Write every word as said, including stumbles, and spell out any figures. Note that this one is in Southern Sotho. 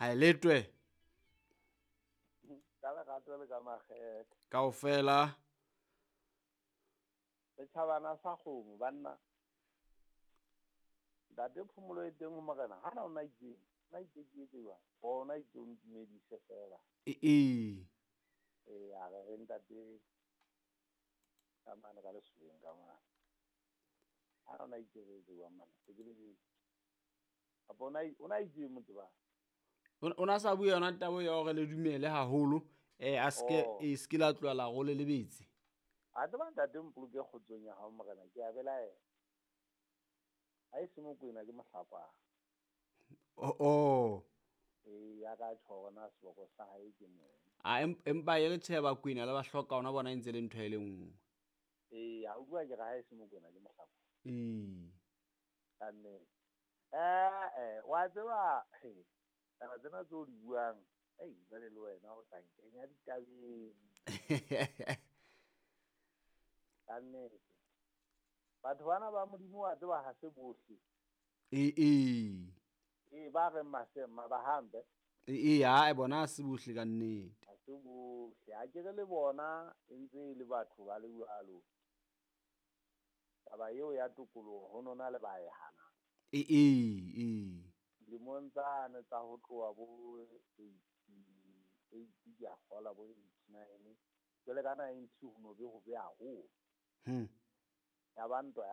Ha e letwe. Ka lerato le ka makgethe. Kaofela. Setjhabana sa kgomo banna. Ntate Phomolo e teng ho morena, hana o na itseng, o na itse ke etse jwang? O na itse o ntumedise fela. E e. Ee, a re re ntate ka mane ka lesobeng ka mane. Hana o na itse re etse jwang mane? Se ke lebetse. Kapa o na o na itse motho ba? O na sa bue yona taba ya hore le dumele haholo, eh a ske Oh. e ske la tloha la role lebetse. A tseba ntate mpoloke kgotsong ya hao morena, ke a belaela. Ha e se Mokwena ke Mohlakwana. Oh oh. Ee, ya ka tjho hore na seboko sa hae ke mong. A empa e re tjhe Bakwena le ba hloka ona bona e ntse le ntho e le nngwe. Ee, a utlwa ke re ha e se Mokwena ke Mohlakwana. Ee. Ka nnete. Eh eh, wa tseba, he, taba tsena tseo di buang, ei jwale le wena o tla nkenya ditabeng. Ka nnete. Batho bana ba Modimo wa tseba ha se bohle. Ee ee. Ee, ba reng masema ba hampe. Ee ee, ha bona ha se bohle ka nnete. Ha se bohle. Ha ke re le bona e ntse e le batho ba le jwalo. Taba eo ya tokoloho ho nona le ba e hanang. Ee ee ee. Dilemong tsane tsa ho tloha bo eighty-eight ke a kgola bo eighty-nine. Jwale ka ninety ho no be hobe haholo. Hmm. Ya ba ntwa ya